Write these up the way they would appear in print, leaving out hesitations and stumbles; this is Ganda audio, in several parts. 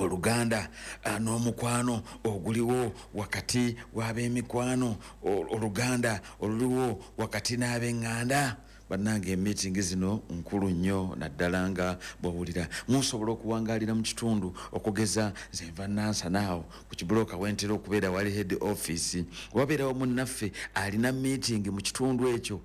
Oluganda n'omukwano oguliwo wakati w'ab'emikwano, oluganda oluliwo wakati n'ab'eŋŋanda. Bannange, emiitingi zino nkulu nnyo, naddala nga bw'owulira musobola okuwangaalira mu kitundu. Okugeza nze nva Nansanaawo ku kibuloka wentera okubeera wali head office, wabeerawo munnaffe alina meeting mu kitundu ekyo.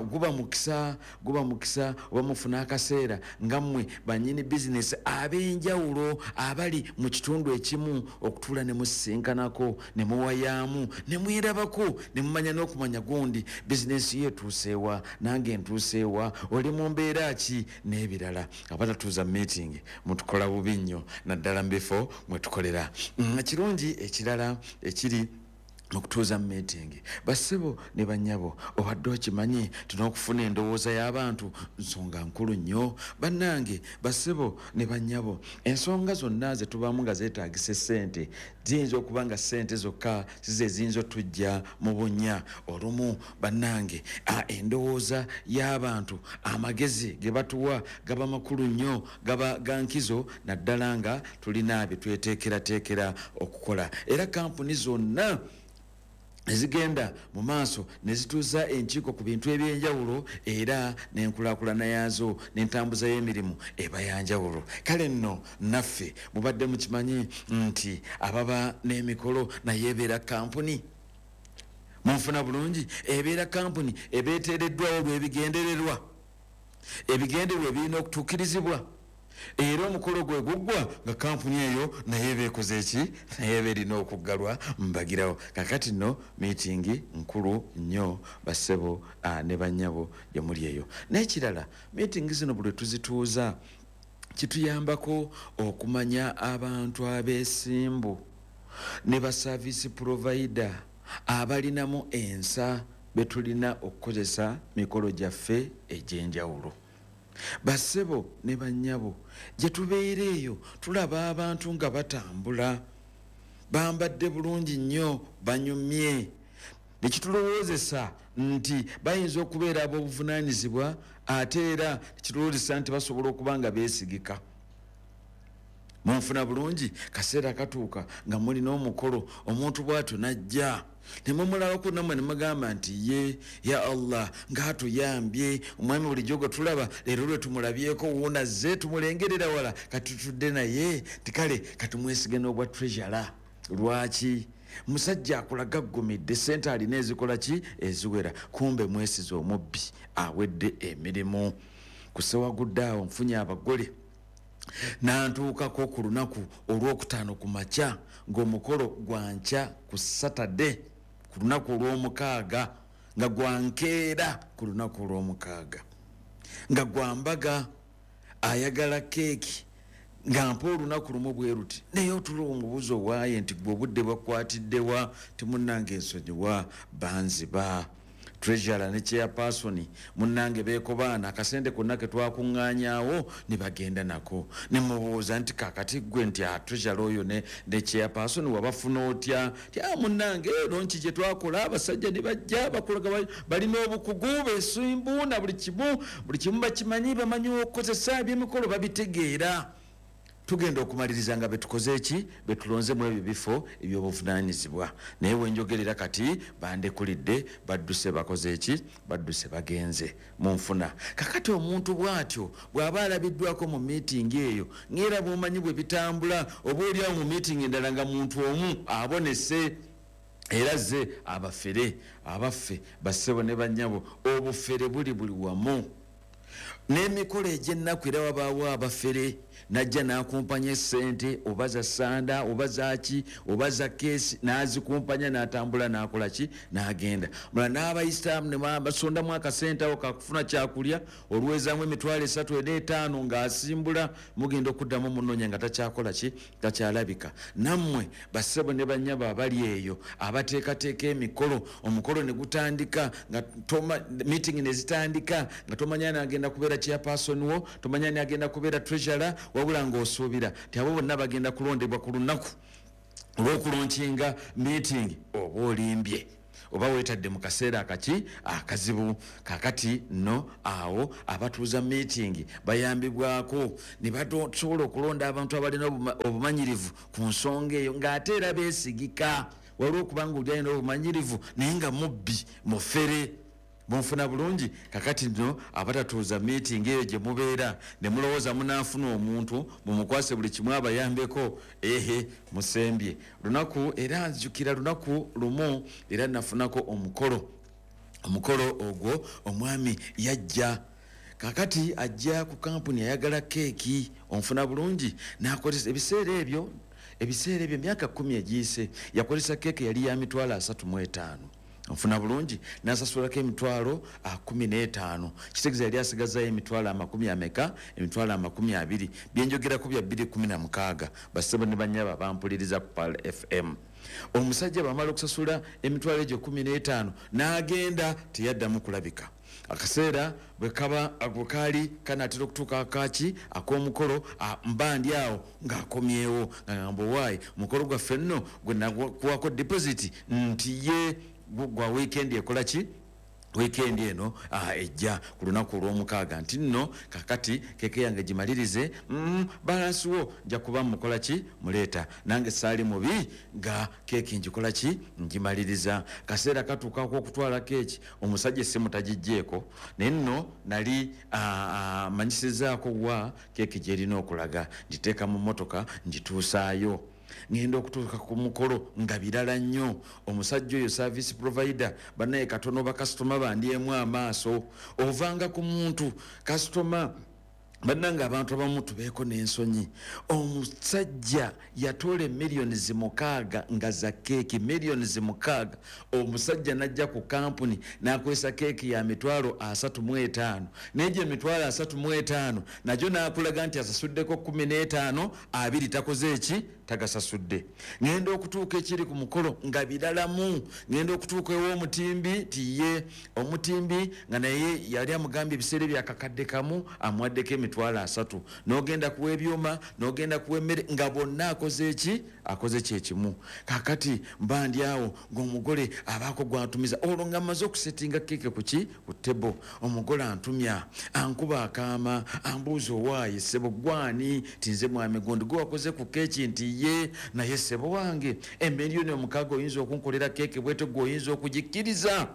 Guba mukisa, guba mukisa oba mufuna akaseera nga mmwe bannyini bizinesi ab'enjawulo abali mu kitundu ekimu okutuula ne musisinkanako, ne muwayaamu, ne mwerabako, ne mumanya n'okumanya gundi bizinesi ye etuuseewa, nange ntuuseewa, oli mu mbeera ki n'ebirala. Abatatuuza meeting mutukola bubi nnyo, naddala mu bifo mwe tukolera. Ekirungi ekirala ekiri mu kutuuza mu meeting, bassebo ne bannyabo, obadde okimanyi tulina okufuna endowooza y'abantu? Nsonga nkulu nnyo. Bannange, bassebo ne bannyabo, ensonga zonna ze tubaamu nga zeetaagisa essente ziyinza okuba nga ssente zokka size eziyinza otujja mu bunnya. Olumu bannange, endowooza y'abantu, amagezi ge batuwa gaba makulu nnyo, gaba ga nkizo, naddala nga tulina bye tweteekerateekera okukola. Era kampuni zonna ezigenda mu maaso ne zituuza enkiiko ku bintu ebyenjawulo, era n'enkulaakulana yaazo n'entambuza y'emirimu eba yanjawulo. Kale nno naffe mubadde mukimanyi nti ababa n'emikolo naye ebeera kampuni? Munfuna bulungi? Ebeera kampuni ebeeteereddwawo olw'ebigendererwa, ebigendererwa ebirina okutuukirizibwa. Era omukolo gwe guggwa nga kampuni eyo naye eba ekoze eki? Naye eba erina okuggalwa mbagirawo. Kakati nno miitingi nkulu nnyo, bassebo ne bannyabo gye muli eyo. N'ekirala, miitingi zino buli lwe tuzituuza kituyambako okumanya abantu abeesimbu ne ba service provider abalinamu ensa be tulina okukozesa mikolo gyaffe egy'enjawulo. Bassebo ne bannyabo, gye tubeera eyo tulaba abantu nga batambula bambadde bulungi nnyo, banyumye, ne kitulowoozesa nti bayinza okubeera ab'obuvunaanyizibwa, ate era nekitulowoozesa nti basobola okuba nga beesigika. Munfuna bulungi? Kaseera katuuka nga mulina omukolo, omuntu bw'atyo n'ajja ne mumulabako nammwe ne mugamba nti, "Ye ya Allah, ng'atuyambye omwami bulijjo gwe tulaba, leero lwe tumulabyeko, wuunazze tumulengerera wala, kati tutudde naye." Nti kale katumwesige n'obwa treasurer. Lwaki? Musajja akulaga aggumidde, sente alina ezikola ki? Eziwera. Kumbe mwesize omubbi awedde emirimu. Kusewagudde awo nfunye abagole, nantuukako ku lunaku olwokutaano ku makya ng'omukolo gwankya ku Saturday ku lunaku olwomukaaga, nga gwankeera ku lunaku olwomukaaga, nga gwambaga, ayagala keeki nga mpa olunaku lumu bwe ruti. Naye otula omubuuzi owaaye nti, "Gwe obudde bwakwatiddewa?" "Timunnange, ensonyiwa, banziba." Treasurer ne chairperson munnange beekobaana, akasente konna ke twakuŋŋaanyaawo ne bagenda nako. Ne mubuuza nti, "Kakati ggwe," nti, "a treasurer oyo ne chairperson wabafuna otya?" Ti, "A munnange, launch gye twakola, abasajja ne bajja bakulaga balina obukugu, besimbu na buli kimu, buli kimu bakimanyi, bamanyi okukozesa ebyemikolo, babitegeera." Tugenda okumaliriza nga betukoze eki? Betulonzemu ebyo bifo ebyobuvunaanyizibwa. Naye wenjogerera kati bandekulidde, badduse, bakoze eki? Badduse, bagenze. Munfuna? Kakati omuntu bw'atyo bw'aba alabiddwako mu miitingi eyo, ngaera bwomanyi bwe bitambula, oba oliawo mu miitingi endala nga muntu omu abonese era ze abafere. Abaffe, bassebo ne bannyabo, obufere buli buli wamu n'emikolo egy'ennaku. Era wabaawo abafere, najja n'akumpanya essente, oba za sanda, oba zaki, oba za keesi, n'azikumpanya n'atambula n'akola ki? N'agenda. Mula n'abayisitaamu ne basondamu akasente awo kakufuna kyakulya, olwezaamu 30,000 ena 5,000 ng'asimbula. Mugenda okuddamu munoonya nga takyakola ki? Takyalabika. Nammwe bassebo ne bannyabo abali eyo abateekateeka emikolo, omukolo ne gutandika nga meeting ne zitandika nga tomanya ani agenda kubeera chairperson wo, tomanya ani agenda kubeera treasurer, wabula ng'osuubira nti abo bonna bagenda kulondebwa ku lunaku olw'okulaunchinga meeting, oba olimbye. Oba weetadde mu kaseera akaki akazibu. Kakati nno awo abatuuza meeting bayambibwako ne basobola okulonda abantu abalina obumanyirivu ku nsonga eyo, ng'ate era beesigika. Waliwo okubanga oli alina obumanyirivu naye nga mubbi, mufere. Munfuna bulungi? Kakati nno abatatuuza meeting eyo gye mubeera ne mulowooza munaafuna omuntu mumukwase buli kimu abayambeko, ehe, musembye lunaku. Era nzijukira lunaku lumu era nafunako omukolo. Omukolo ogwo omwami yajja, kakati ajja ku kampuni ayagala keeki. Onfuna bulungi? Nakozesa ebiseera ebyo emyaka 10 egiyise, yakozesa keeki yali ya 35,000. Onfuna bulungi? Nasasulako emitwalo 15, kitegeeza yali asigazayo emitwalo amakumi ameka? Emitwalo 20. Byenjogerako bya 216. Basebo ne banyaba bampuliriza ku Pal FM, omusajja bamala okusasula emitwalo egyo 15 n'agenda, teyaddamu kulabika. Akaseera bwe bwe kaali kanaatera okutuuka akaki ak'omukolo, mba ndi awo ng'akomyewo nga ngamba, "Owaayi, omukolo gwaffe nno gwe nakuwako deposit nti ye gwa weekend ekola ki, weekend eno ejja ku lunaku olwomukaaga, nti nno kakati keke yange gimalirize, balance wo nja kuba mukola ki, muleeta." Nange saali mubi nga keeki ngikola ki, ngimaliriza. Kaseera katuukako okutwala keeki, omusajja essimu tagijjeeko, naye nno nali manyisizaako wa keeki gyerina okulaga. Ngiteeka mu motoka, ngituusaayo. Ngenda okutuuka ku mukolo nga birala nnyo. Omusajja oyo service provider, banaye katono bakasitoma bandyemu amaaso. Ovanga ku muntu kasitoma. Bannange, abantu abamu tubeeko n'ensonyi. Omusajja yatoola emiliyoni 6 nga za keeki, miliyoni 6. Omusajja n'ajja ku kampuni n'akozesa keeki ya 35,000, naye gye 35,000 nagyo n'akulaga nti asasuddeko 15, 20 takoze eki, tagasasudde. Ŋŋenda okutuuka ekiri ku mukolo nga biralamu. Ŋŋenda okutuuka ew'omutimbi, tiye omutimbi nga naye yali amugambye ebiseera byakakadde kamu, amuwaddeko 30,000. N'ogenda kuwa ebyuma, n'ogenda kuwa emmere, nga bonna akoze eki, akoze kyekimu. Kakati mba ndi awo ng'omugole abaako gwantumiza. Olwo nga mmaze okusetinga keeke kuki, ku table. Omugole antumya, ankuba akaama, ambuuza, "Owaaye ssebo, gwani?" Ti, "Nze mwami gundi, gwe wakoze ku keeki." Nti, "Ye, naye ssebo wange, emiliyoni 6 oyinza okunkolera keeke bwete? Gwe oyinza okugikkiriza?"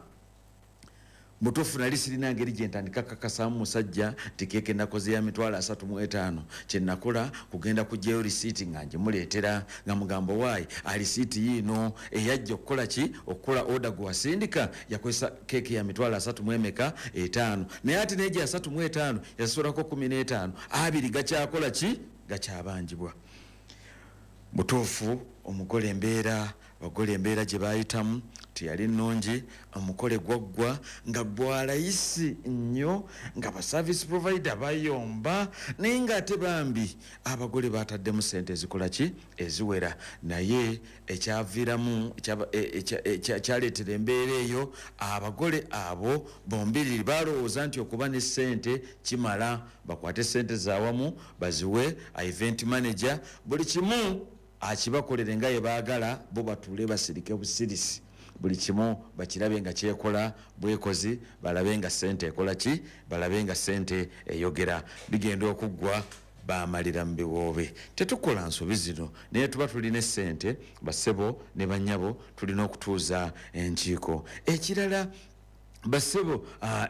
Mutuufu nali sirina ngeri gye ntandika kakasaamu musajja nti keeke nakoze ya 35,000. Kyenakola kugenda kugyayo risiiti nga ngimuleetera, nga mugamba, "Waayi, alisiiti yiino eyajja okukola ki, okukola order gwe wasindika, yakozesa keeke ya mitwalo asatu mu emeka, etaano, naye ate naye gye 35 yasasulako 15, 20 gakyakola ki, gakyabanjibwa." Butuufu omugole embeera, abagole embeera gye bayitamu teyali nnungi. Omukole gwaggwa nga gwalayisi nnyo, nga ba service provider bayomba, naye ngaate bambi abagole bataddemu sente ezikola ki, eziwera. Naye ekyaviiramu kyaleetera embeera eyo, abagole abo bombiriri balowooza nti okuba ne sente kimala, bakwate sente zawamu baziwe event manager, buli kimu akibakolere nga ye baagala, bo batuule basirike busirisi, buli kimu bakirabe nga kyekola bwekozi, balabe nga sente ekola ki, balabe nga sente eyogera. Bigenda okuggwa bamalira mu biwoobe. Tetukola nsobi zino, naye tuba tulina esente, basebo ne banyabo, tulina okutuuza enkiiko. Ekirala, basebo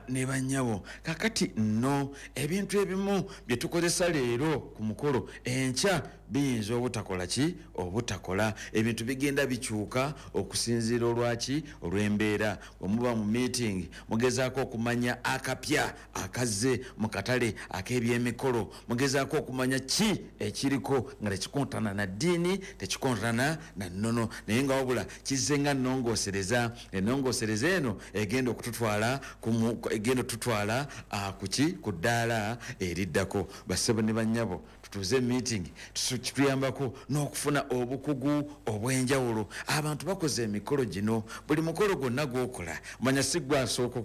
ne banyabo, kakati nno ebintu ebimu bye tukozesa leero ku mukolo, enkya biyinza obutakola ki, obutakola. Ebintu bigenda bikyuka okusinziira olwaki, olw'embeera. Bwe muba mu meeting, mugezaako okumanya akapya akazze mu katale ak'ebyemikolo, mugezaako okumanya ki ekiriko nga tekikontana na ddiini, tekikontana na nnono, naye nga wabula kizze nga nnongoosereza. Ennongoosereza eno egenda okututwala egenda okututwala kuki, ku ddaala eriddako. Bassebo ne bannyabo, tutuuze meeting, kituyambako n'okufuna obukugu obw'enjawulo. Abantu bakoze emikolo gino, buli mukolo gwonna gwokola manya si gwe asooka.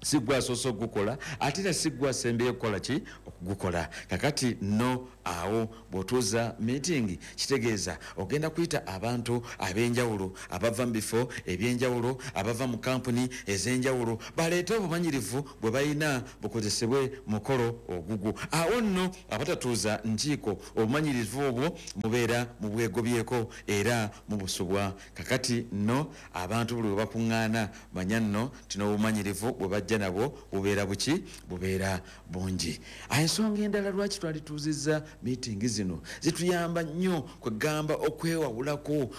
Si gwe asoose okugukola, ate era si gwe asembyeyo okukola ki? Okugukola. Kakati nno awo bw'otuuza meeting, kitegeeza ogenda kuyita abantu ab'enjawulo abava mu bifo eby'enjawulo, abava mu kampuni ez'enjawulo, baleete obumanyirivu bwe balina bukozesebwe mukolo ogugwo. Awo nno abatatuuza nkiiko, obumanyirivu obwo mubeera mubwegobyeko era mubusubwa. Kakati nno abantu buli we bakuŋŋaana, manya nno nti n'obumanyirivu bwe bajja nabwo bubeera buki? Bubeera bungi. Ensonga endala lwaki twalituuzizza meeting zino, zituyamba nnyo kwegamba okwewawulako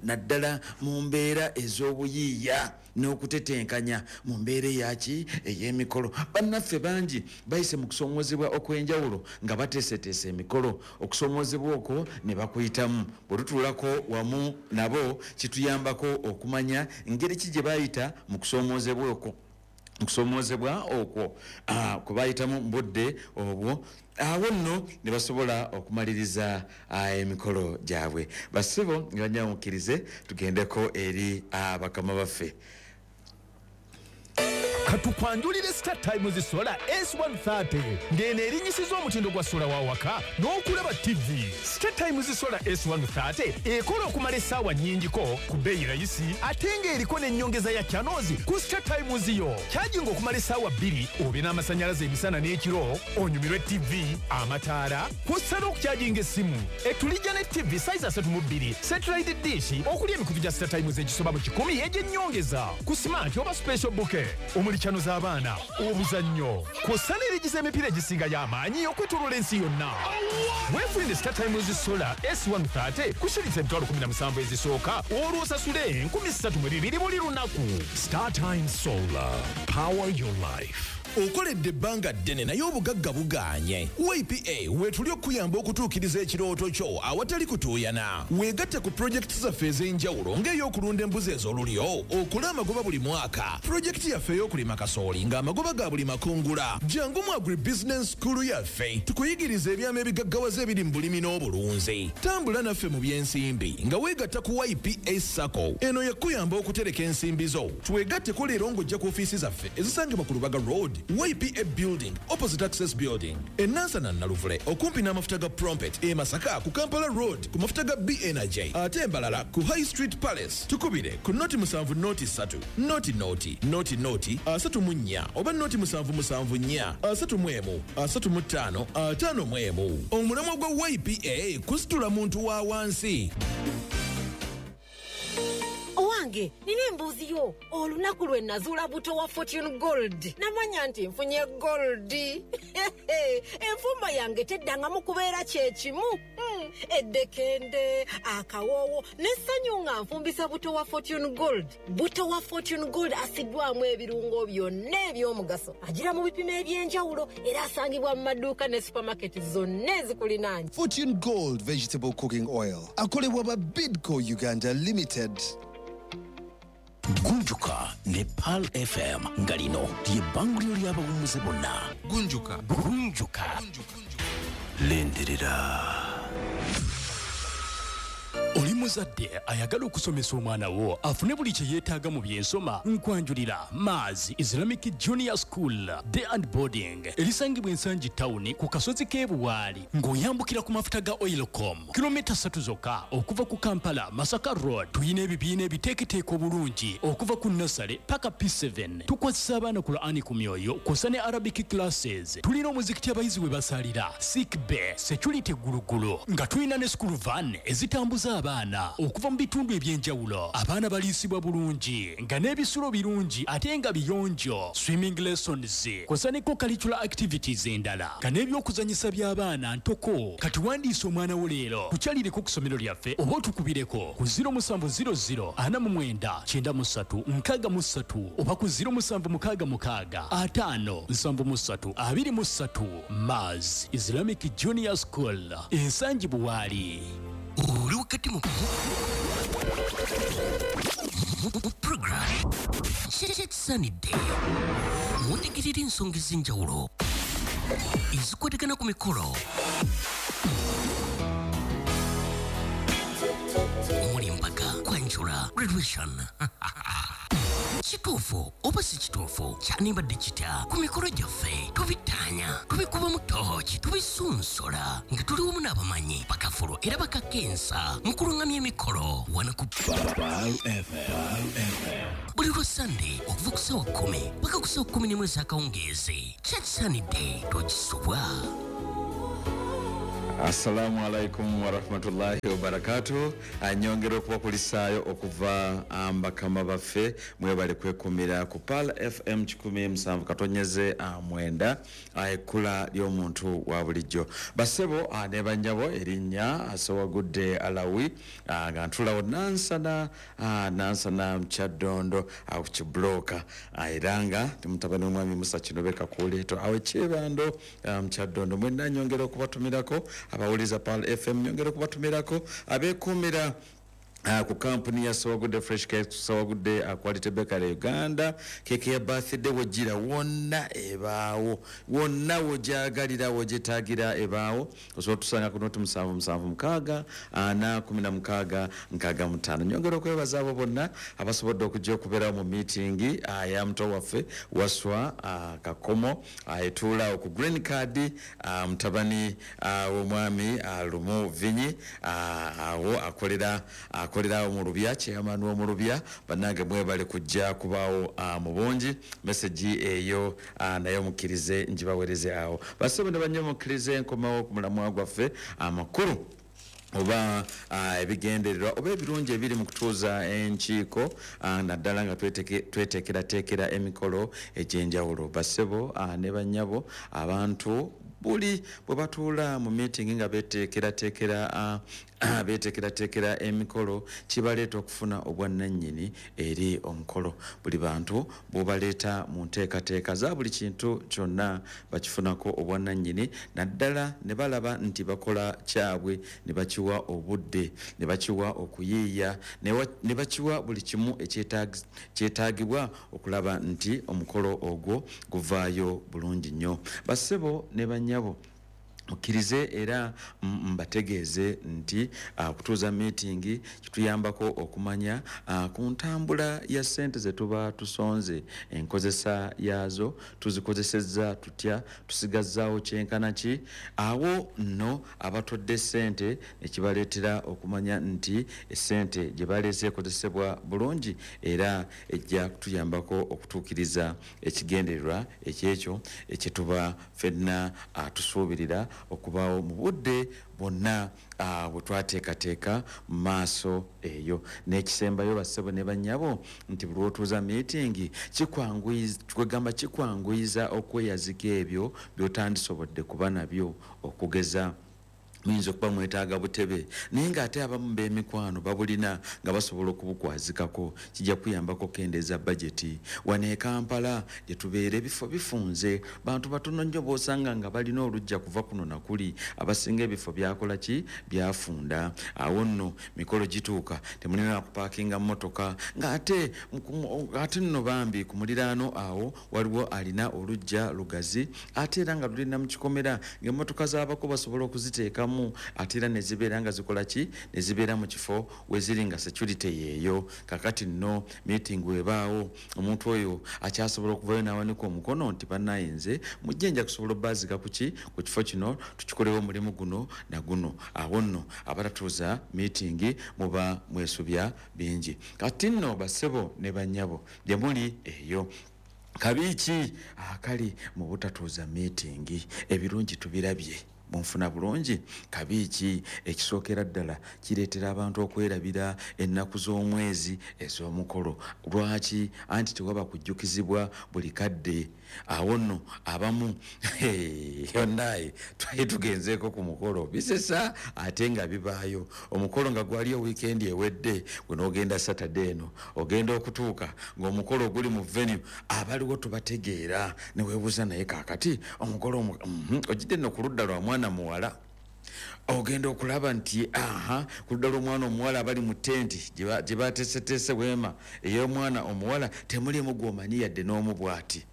naddala mu mbeera ez'obuyiiya n'okutetenkanya mu mbeera eyaki? Ey'emikolo. Bannaffe bangi bayise mu kusoomoozebwa okw'enjawulo nga bateeseteese emikolo, okusoomoozebwa okwo ne bakuyitamu. Bwe tutuulako wamu nabo, kituyambako okumanya ngeri ki gye bayita mu kusoomoozebwa okwo, okusoomoozebwa okwo kwe bayitamu mu budde obwo. Awo nno ne basobola okumaliriza emikolo gyabwe. Bassebo nga banyamukkirize, tugendeko eri bakama baffe. Katukwanjulire Star Times Solar S130, ng'eno erinyisiza omutindo gwa solar wa waka n'okulaba TV. Star Times Solar S130 ekola okumala essaawa nnyingiko ku bbeeyi rayisi, ate ng'eriko n'ennyongeza ya channels ku Star Times yo. Kyajinga okumala essaawa 2, obe n'amasannyalaze emisana n'ekiro, onyumirwe TV, amataala, kw'ossa n'okukyajinga essimu. Etulijja ne TV size 32, satellite dish okuli emikutu gya Star Times egisoba mu 100 egy'ennyongeza ku smart oba special bouquet omuli channel z'abaana, obuzannyo, kw'ossa n'erigiza emipiira egisinga y'amaanyi okwetooloola ensi yonna. Weefunire Star Times Solar S130 ku shilingi 17,000 ezisooka, olwo osasule 3,200 buli lunaku. Star Times Solar, power your life. Okoledde ebbanga ddene naye obugagga bugaanye. YPA weetuli okuyamba okutuukiriza ekirooto kyo awatali kutuuyana. Weegatte ku pulojekiti zaffe ez'enjawulo, ng'ey'okulunda embuzi ez'olulyo okole amagoba buli mwaka, pulojekiti yaffe ey'okulima kasooli ng'amagoba ga buli makungula. Jangu mu Agribusiness School yaffe tukuyigiriza ebyama ebigaggawaza ebiri mu bulimi n'obulunzi. Tambula naffe mu by'ensimbi nga weegatta ku YPA SACCO. Eno yakuyamba okutereka ensimbi zo. Twegatteko leero ng'ojja ku ofiisi zaffe ezisangibwa ku Lubaga Road, YPA Building, opposite Access Building, enansana Naluvule okumpi n'amafuta ga Prompet, e Masaka ku Kampala Road ku mafuta ga BNJ, ate embalala ku High Street Palace. Tukubire ku 0 7 0 3 0 0 0 0 34 oba 0 7 7 4 31 35 51. Omulamwa gwa YPA kusitula muntu wa wansi. Owange, nina embuuzi yo. Olunaku lwe nazuula buto wa Fortune Gold, namanya nti nfunye gold. Enfumba yange teddangamu kubeera kyekimu. Eddekende, akawoowo n'essanyu nga nfumbisa buto wa Fortune Gold. Buto wa Fortune Gold asiddwamu ebirungo byonna eby'omugaso, agira mu bipimo eby'enjawulo, era asangibwa mu maduuka ne supamaketi zonna ezikulinaanye. Fortune Gold Vegetable Cooking Oil akolebwa ba Bidco Uganda Limited. Gunjuka ne Pearl FM, nga lino lyebbanguliro ly'abawummuze bonna. Gunjuka. Gunjuka, lindirira. Oli muzadde ayagala okusomesa omwana wo afune buli kye yeetaaga mu byensoma? Nkwanjulira Mars Islamic Junior School Day and Boarding, erisangibwa Ensangi Tawuni ku kasozi k'ebuwaali ng'oyambukira ku mafuta ga Oilcom, kilomita 3 zokka okuva ku Kampala Masaka Road. Tuyina ebibiina ebiteeketeeka obulungi okuva ku nursery paka P7. Tukwasisa abaana Qur'ani ku myoyo kw'ossa ne Arabic classes. Tulina omuzikiti abayizi we basalira, sick bay, security gulugulu, nga tulina ne school van ezitambuza abaana okuva mu bitundu ebyenjawulo. Abaana baliisibwa bulungi nga n'ebisulo birungi ate nga biyonjo, swimming lessons kw'ossa ne co-curricular activities endala, nga n'ebyokuzanyisa by'abaana ntoko. Kati wandiisa omwana wo leero, tukyalireko ku ssomero lyaffe oba otukubireko ku 0700 49 93 63 oba ku 0766 50 73 23. Mars Islamic Junior School, Ensangi Buwaali. Oli wakati mu program Kyekisaanidde, mutegerera ensonga ez'enjawulo ezikwatagana ku mikolo omuli embaga, kwanjula, graduation. Kituufu oba si kituufu, kyanibadde kitya ku mikolo gyaffe? Tubittaanya, tubikubamu tooki, tubisunsola nga tuli wamu n'abamanyi bakafulu era bakakensa mu kulungamya emikolo wano ku buli lwa Sande okuva ku ssaawa 10 paka ku ssaawa 11 ez'akawungeezi. Kyakisaanidde tokisubwa. Assalamu alaikum warahmatullahi wabarakatuh. Nyongera okubakulisaayo okuva bakama baffe, mwebale kwekumira ku Pearl FM 107.9, ekkula ly'omuntu wa bulijjo. Basebo ne bannyabo, erinnya Sowagudde Alawi, nga ntulawo Nansana, Nansana Kyaddondo awo ku kibulooka, era nga ndi mutabani w'omwami Musa Kinobe Kakuuleeto awo Ekyebando Kyaddondo. Mwenna nyongera okubatumirako abawuliza Pearl FM, nyongera okubatumirako abeekuumira ku kampuni ya Sowagudde Fresh Cake, Sowagudde Quality Bakery Uganda. Keeke ya birthday wogira wonna ebaawo, wonna wogyagalira, wogyetaagira ebaawo. Osobola otusanga ku 077 6 4 16 65. Nyongera okwebaza abo bonna abasobodde okujja okubeerawo mu meeting ya muto waffe Waswa Kakomo, etuula ku Green Card, mutabani w'omwami Lumu Vinyi, awo akolera mu Lubya, chairman w'omu Lubya. Bannange mwebale kujja kubaawo mu bungi. Message eyo nayo mukkirize ngibaweereze awo. Basebo ne bannyo, mukkirize nkomawo ku mulamwa gwaffe amakulu oba ebigendererwa oba ebirungi ebiri mu kutuuza enkiiko, naddala nga tweteekerateekera emikolo egy'enjawulo. Basebo ne bannyabo, abantu buli bwe batuula mu meeting nga beeteekerateekera emikolo, kibaleeta okufuna obwannannyini eri omukolo. Buli bantu bw'obaleeta mu nteekateeka za buli kintu kyonna, bakifunako obwannannyini, naddala ne balaba nti bakola kyabwe, ne bakiwa obudde, ne bakiwa okuyiiya, ne bakiwa buli kimu ekyetaagibwa okulaba nti omukolo ogwo guvaayo bulungi nnyo. Basebo ne bannyabo, mukkirize era mbategeeze nti okutuuza meeting kituyambako okumanya ku ntambula ya ssente ze tuba tusonze, enkozesa yaazo, tuzikozesezza tutya, tusigazzaawo kyenkana ki. Awo nno abatodde ssente ne kibaleetera okumanya nti essente gye baleese ekozesebwa bulungi era ejja kutuyambako okutuukiriza ekigendererwa ekyekyo ekyetuba ffenna tusuubirira okubaawo mu budde bwonna bwe twateekateeka mu maaso eyo. N'ekisembayo, bassebo ne bannyabo, nti buli lw'otuuza meeting kwegamba kikwanguyiza okweyazika ebyo by'otandisobodde kuba nabyo. Okugeza, muyinza okuba mwetaaga butebe, naye ng'ate abamu b'emikwano babulina nga basobola okubukwazikako. Kijja kuyambako okukendeeza bajeti. Wano e Kampala gye tubeera ebifo bifunze, bantu batono nnyo b'osanga nga balina oluggya kuva kuno nakuli. Abasinga ebifo byakola ki? Byafunda. Awo nno mikolo gituuka temulina kupaakinga mmotoka, ng'ate ate nno bambi ku muliraano awo waliwo alina oluggya lugazi, ate era nga lulina mu kikomera, ng'emmotoka z'abako basobola okuziteekamu, ate era ne zibeera nga zikola ki? Ne zibeera mu kifo we ziri nga security yeeyo. Kakati nno meeting webaawo, omuntu oyo akyasobola okuvayo n'awanika omukono nti bannaye nze mujje, nja kusobola obbaazika ku ki, ku kifo kino, tukikolewo omulimu guno na guno. Awo nno abatatuuza meeting muba mwesubya bingi. Kati nno bassebo ne bannyabo, gye muli eyo, kabi ki akali mu butatuuza meeting? Ebirungi tubirabye, munfuna bulungi. Kabi ki? Ekisookera ddala, kireetera abantu okwerabira ennaku z'omwezi ez'omukolo. Lwaki? Anti tewaba kujjukizibwa buli kadde. Awo nno abamu yonnaye twali tugenzeeko ku mukolo, bisesa ate nga bibaayo, omukolo nga gwaliyo wiikendi ewedde, gwe n'ogenda Saturday eno, ogenda okutuuka ng'omukolo oguli mu venue abaliwo tubategeera, ne weebuuza naye kaakati omukolo ogidde nno ku ludda lwa mwana muwala, ogenda okulaba nti aha, ku ludda lw'omwana omuwala abali mu tenti gye bateeseteese, weema ey'omwana omuwala, temulimu gw'omanyi yadde n'omu bw'ati.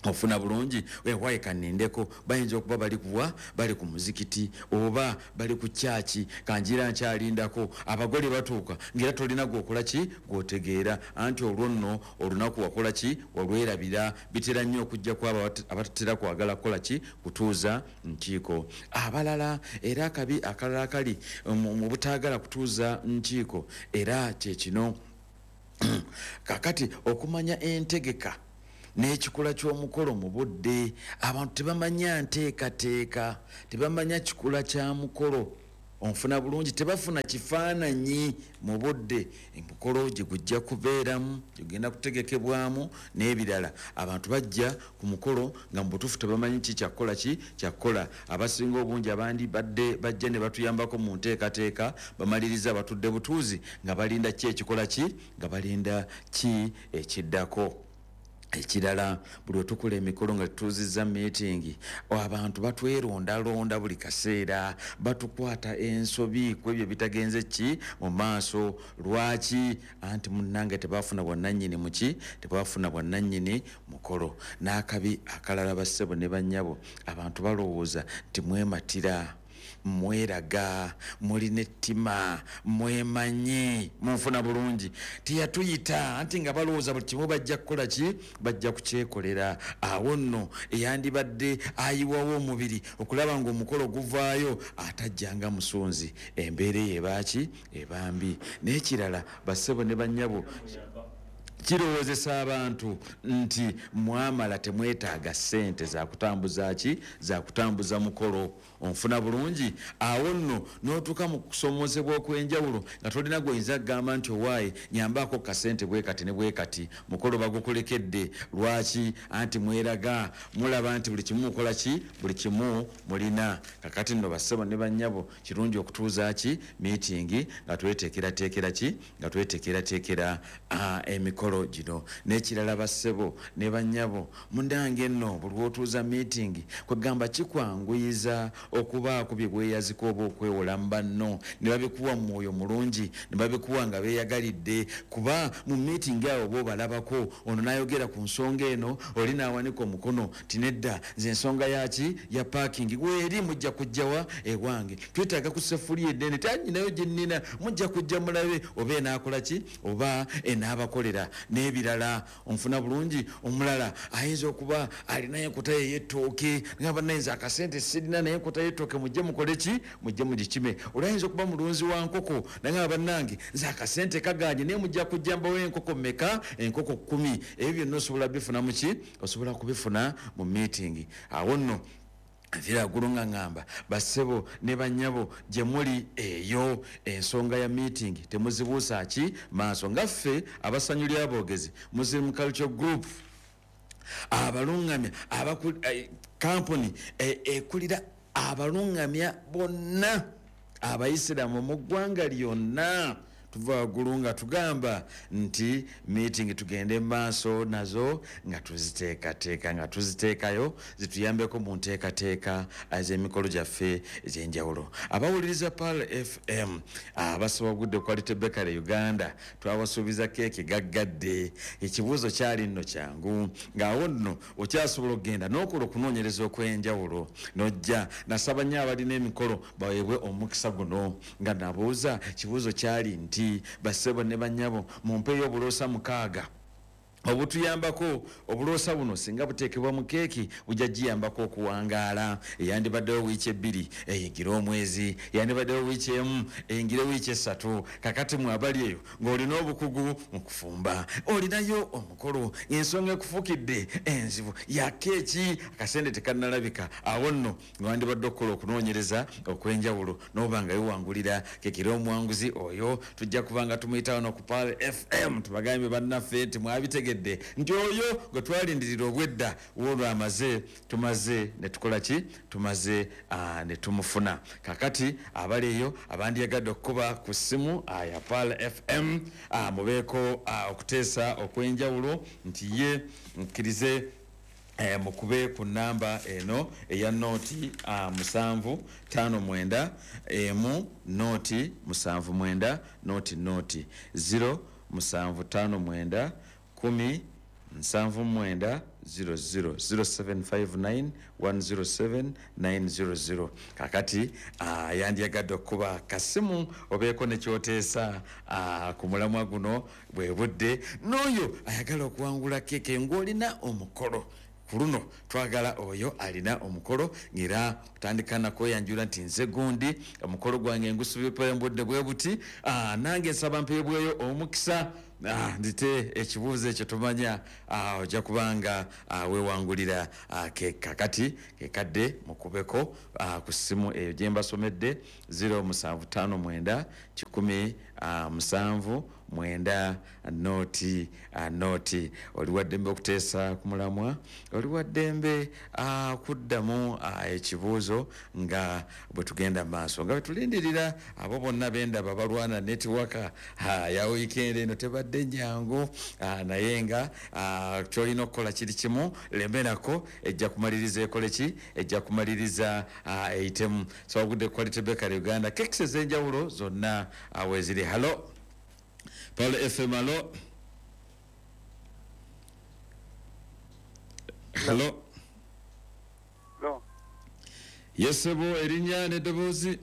Ofuna bulungi wewaye kanindeko, bayinza okuba bali kuwa, bali ku muzikiti oba bali ku kyaki, kanjira nkyalindako abagole batuuka ngera tolina gwokola ki gwotegeera, anti olwo nno olunaku wakola ki walwerabira. Bitera nnyo okujja kwabo abatatera kwagala kukola ki kutuuza nkiiko. Abalala era akabi akalala akali mu butaagala kutuuza nkiiko era kye kino kakati okumanya entegeka n'ekikula ky'omukolo mu budde. Abantu tebamanya nteekateeka, tebamanya kikula kya mukolo, onfuna bulungi, tebafuna kifaananyi mu budde emukolo gye gujja kubeeramu, gye gugenda kutegekebwamu n'ebirala. Abantu bajja ku mukolo nga mu butuufu tebamanyi ki kyakukola ki kyakukola. Abasinga obungi abandi badde bajja ne batuyambako mu nteekateeka, bamaliriza batudde butuuzi nga balinda ki ekikola ki, nga balinda ki ekiddako. Ekirala, buli wetukola emikolo nga tutuuzizza meeting, abantu batwerondalonda buli kaseera, batukwata ensobi ku ebyo bitagenze ki mu maaso. Lwaki? Anti munnange tebafuna bwannannyini muki, tebafuna bwannannyini mukolo. N'akabi akalala, bassebo ne bannyabo, abantu balowooza nti mwematira, mweraga, mulina ettima, mwemanyi, munfuna bulungi, teyatuyita, anti nga balowooza buli kimu bajja kukola ki, bajja kukyekolera. Awo nno eyandibadde ayiwawo omubiri okulaba ng'omukolo guvaayo atajjanga musunzi, embeera eyo ebaaki ebambi. N'ekirala, bassebo ne bannyabo, kirowoozesa abantu nti mwamala, temwetaaga ssente zakutambuza ki, zakutambuza mukolo, onfuna bulungi. Awo nno n'otuuka mu kusomozebwa okw'enjawulo nga tolina gwoyinza kugamba nti owaaye nyambaako kasente bwe kati ne bwe kati, mukolo bagukulekedde. Lwaki? Anti mweraga, mulaba nti buli kimu mukola ki, buli kimu mulina. Kakati nno bassebo ne bannyabo, kirungi okutuuza ki meeting nga tweteekerateekera ki, nga tweteekerateekera emikolo gino. N'ekirala, bassebo ne bannyabo, mundange nno buli lw'otuuza meeting kwegamba kikwanguyiza okubaako bye bweyazika oba okwewola mu banno, ne babikuwa mu mwoyo mulungi, ne babikuwa nga beeyagalidde. Kuba mu meeting awo oba obalabako, ono n'ayogera ku nsonga eno, oli n'awanika omukono ti nedda, nze ensonga yaki ya parking weeri, mujja kujjawa ewange, twetaaga ku sefuliya ennene, tanyinayo gye nnina, mujja kujja mulabe oba enaakola ki oba enaabakolera n'ebirala, onfuna bulungi. Omulala ayinza okuba alinayo enkota ye ey'ettooke, ngamba nayinza akasente sirina, naye enkota y'ettooke mujje mukole ki, mujje mugikime. Oli ayinza okuba mulunzi wa nkoko, nangamba bannange nze akasente kaganye, naye mujja kujja mbawo enkoko mmeka, enkoko 10. Ebyo byonna osobola bifuna muki, osobola kubifuna mu meeting. Awo nno nvira waggulu nga ŋŋamba bassebo ne bannyabo, gye muli eyo ensonga ya meeting temuzibuusa ki maaso. Nga ffe abasanyu ly'aboogezi Muslim Culture Group, abaluŋŋamya kampuni ekulira abaluŋŋamya bonna abayisiraamu mu ggwanga lyonna, tuva waggulu nga tugamba nti meeting tugende maaso nazo nga tuziteekateeka, nga tuziteekayo zituyambeko mu nteekateeka ez'emikolo gyaffe ez'enjawulo. Abawuliriza Pearl FM abasowagudde Quality Bakery Uganda, twabasuubiza keeki gaggadde. Ekibuuzo kyali nno kyangu, ng'awo nno okyasobola okugenda n'okola okunoonyereza okw'enjawulo n'ojja. Nasaba nnyo abalina emikolo baweebwe omukisa guno nga nabuuza kibuuzo kyali nti, bassebo ne bannyabo, mumpeeyo obuloosa 6 obutuyambako. Obuloosa buno singa buteekebwa mu keeki bujja giyambako okuwangaala. Eyandibaddewo wiiki 2 eyingire omwezi, eyandibaddewo wiiki 1 eyingire wiiki 3. Kakati mwe abali eyo ng'olina obukugu mu kufumba, olinayo omukolo, ensonga ekufuukidde enzibu ya keeki, akasente tekannalabika, awo nno wandibadde okukola okunoonyereza okw'enjawulo n'oba nga wewangulira keeki. Era omuwanguzi oyo tujja kuba nga tumuyita wano ku Pearl FM, tubagambye bannaffe nti mwabitegedde nti oyo gwe twalindirira obwedda woolwo amaze, tumaze ne tukola ki, tumaze ne tumufuna. Kakati abali eyo abandiyagadde okukuba ku ssimu ya Pearl FM, mubeeko okuteesa okw'enjawulo nti ye mukkirize, mukube ku namba eno eya 0 7 5 9 1 0 7 9 0 0 7 5 9 10 79 00 0759 107 900. Kakati yandyagadde okukuba kasimu obeeko nekyoteesa ku mulamwa guno bwe budde n'oyo ayagala okuwangula keeke ng'olina omukolo. Ku luno twagala oyo alina omukolo ng'era otandika nakweyanjula nti nze gundi, omukolo gwange ngusubye mbudde bwe buti, nange nsaba mpeebweyo omukisa ndite ekibuuzo ekyo tumanya ojja kubanga weewangulira kakati kekadde mukubeko ku ssimu eyo gye mbasomedde 0759 179 0 0. Oli waddembe okuteesa ku mulamwa, oli waddembe kuddamu ekibuuzo nga bwe tugenda maaso, nga bwe tulindirira abo bonna bendaba balwana netiwaka ya wiikendi eno tebadde nyangu, naye nga kyolina okukola kiri kimu, lemerako ejja kumaliriza ekole ki, ejja kumaliriza eyitemu. So wagudde Quality Bakery Uganda, kekisi ez'enjawulo zonna weeziri. Halo Paul FM, halo. Halo. Halo. Yesebo, erinnya n'eddoboozi.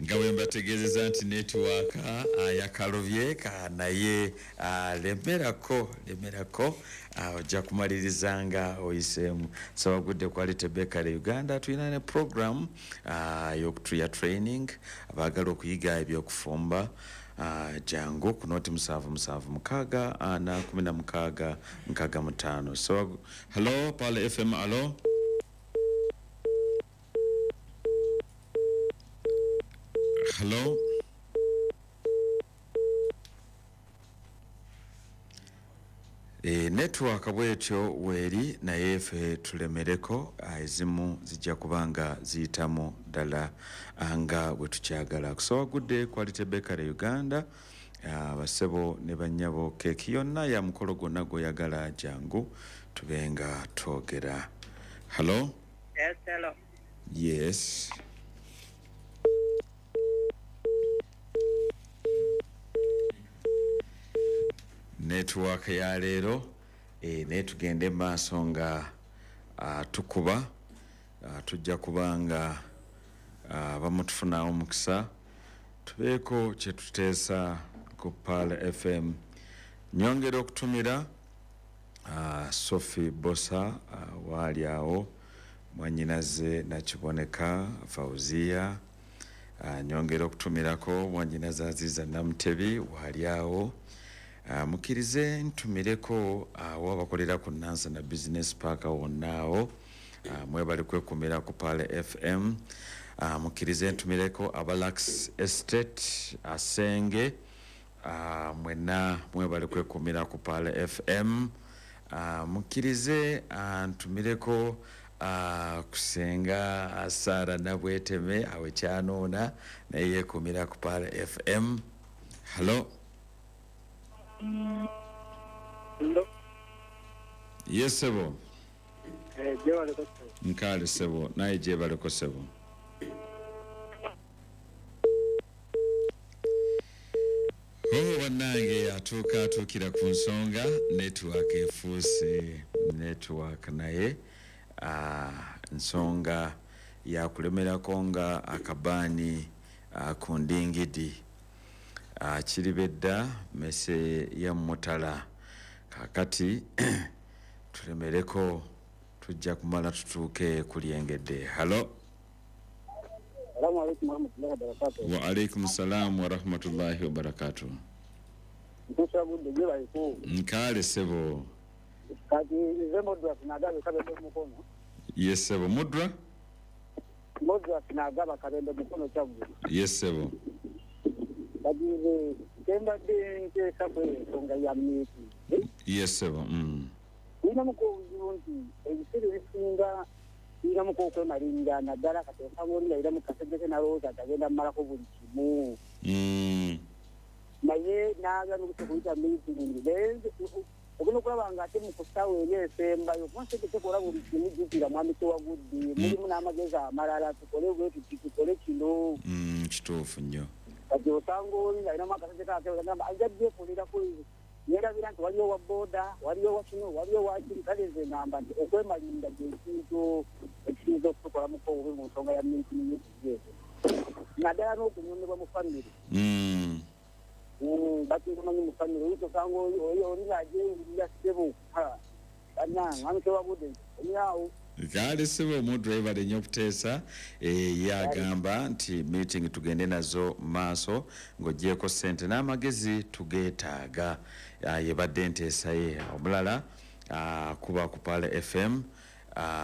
Nga bwe mbategeezeza nti netiwaaka yakalobye naye lemerako ojja kumaliriza nga oyiseemu. Sawagudde Quality Bakery Uganda, tulina ne program ya training abaagala okuyiga ebyokufumba. Jangu ku noti 776 4 16 65. So hello Paul FM, hello. Hello. Network bwetyo weeri naye ffe tulemereko, ezimu zijja kubanga ziyitamu ddala nga bwe tukyagala. Kusawagudde Quality Bakery Uganda, abasebo ne bannyabo, keeki yonna ya mukolo gwonna gw'oyagala, jangu tube nga twogera. Hello. Yes, hello. Yes. Network ya leero naye tugende maaso nga tukuba, tujja kubanga bamutufunawo omukisa tubeeko kye tuteesa ku Pearl FM. Nyongera okutumira Sophie Bosa waali awo, mwannyinaze Nakiboneka Fauzia. Nyongera okutumirako mwannyinaze Aziza Namutebi waali awo. Mukkirize ntumireko awo abakolera ku Nansana Business Park wonna awo, mwebale kwekumira ku Pearl FM. Mukkirize ntumireko Abalax Estate Asenge, mwenna mwebale kwekumira ku Pearl FM. Mukkirize ntumireko kusenga Sara Nabweteme awe kyanoona naye yekumira ku Pearl FM. Hello. Hello. Yes, sebo. Nkale sebo, naye gyebaleko sebo. Oh, bannange atuuka atuukira ku nsonga, network efuuse network naye nsonga yakulemerako nga akabaani ku ndingidi. Kiribedda mese ya mutala. Kakati tulemereko tujja kumala tutuuke kulyengedde. Hello. Assalamu alaikum warahmatullahi wabarakatuh. Wa alaikum salam wa rahmatullahi wa barakatuh. Nkale sebo. Kati nze Mudra sinagaba kabembe mukono. Yes sebo. Mudra? Mudra sinagaba kabembe mukono kyaggulu. Yes sebo. Bagize kembadde nteesa ku ensonga ya meeting. Yes sebo. Tulinamuko obuzibu nti ebiseera ebisinga tulinamuko okwemalinga naddala kati osanga oli nga mu kasegese n'alowooza nti agenda mmalako buli kimu. Naye n'aga n'okuyita meeting. Ogenda okulaba nga ate mu kusaawa eri esembayo kuba sente tekola buli kimu, jjukira mwami Tewagudde mulimu n'amagezi amalala, tukole bwe tuti, tukole kino. Kituufu nnyo. Kati osanga oli ng'alinamu akasente kake agamba ajja byekoleraku, yeerabira nti waliyo wa booda, waliyo wa kino, waliyo wa kiri. Kale nze ngamba nti okwemalirira kye kintu ekiyinza okutukolamuko obubi mu nsonga ya meeting ezo, naddala n'okunyomebwa mu famire. Bakimanyi mu famire oyinza osanga oli ng'agyewulira ssebo bannange amukewabudde omyawo. Kale ssebo, omuntu webale nnyo okuteesa. Ye agamba nti meeting tugende nazo maaso, ng'ogyeko ssente n'amagezi tugeetaaga. Yebadde enteesa ye. Omulala kuba ku Pearl FM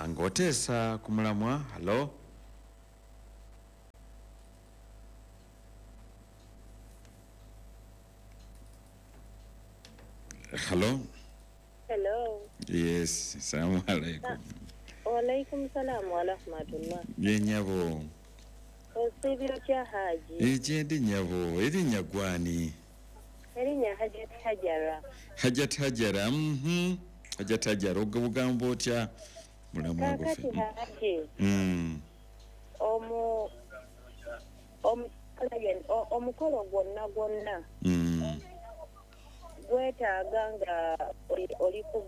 ng'oteesa ku mulamwa. Hallo? Hallo? Hello. Yes, salamu alaikum. Walaikum salam wa rahmatullah. Ye nyabo. Osiibye otya, Haji? Egyendi nyabo, erinnya gwani? Erinnya Hajat Hajara. Hajat Hajara, Hajat Hajara, ogamba otya mulamwa Kaakati gwaffe? Haji, omukolo gwonna gwonna gwetaaga nga oli ku